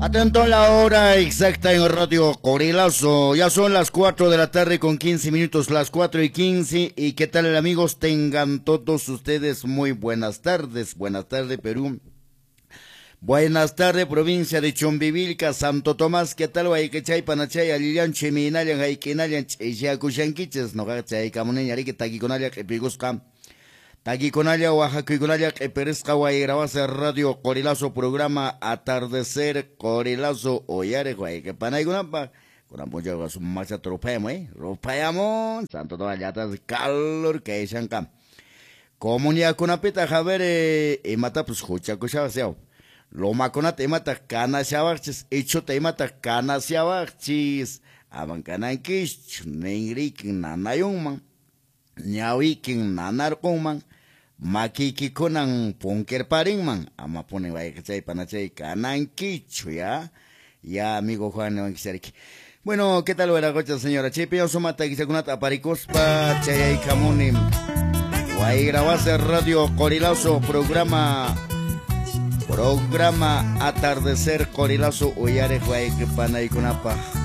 Atento a la hora exacta en Radio Qorilazo. Ya son las 4 de la tarde con 15 minutos, las 4:15. ¿Y qué tal, amigos? Tengan todos ustedes muy buenas tardes. Buenas tardes, Perú. Buenas tardes, provincia de Chumbivilca, Santo Tomás. ¿Qué tal? Wayqichay, panachay, allillanchu, imaynallan, haykinallan, ch'isyakushankichis. Noqaqa chaykamuniña, riki, takikunalla q'ipikusqa. Takikunalla, waqakuykunalla q'ipirisqa Wayrawasi Radio Qorilazo, programa Atardecer Qorilazo, uyariq wayqi panaykunapaq. Kunan p'unchawqa sumaqchata ruphayamun, eh? Ruphayamun. Santo Tomás llaqtapas calor kayshanqa. Comunidadkunapitaq, a ver, imatapas huchakushawaq yaw. Lomakunata imataq kanashawaqchis, ichhuta imataq kanashawaqchis. Aman kanankischu, ninrikin nanayunman, ñawikin nanarqunman, makiykikunan punkirparinman. Amapuni wayqichay panachay kanankichu, ya. Ya, amigo Juan niwankisariki. Bueno, ¿qué tal, wiraqucha señora? Chaypi sumata takichakunata aparikuspa chayaykamuni. Wayrawasi Radio Qorilazo, programa Atardecer Qorilazo, uyariq wayqi panaykunapaq.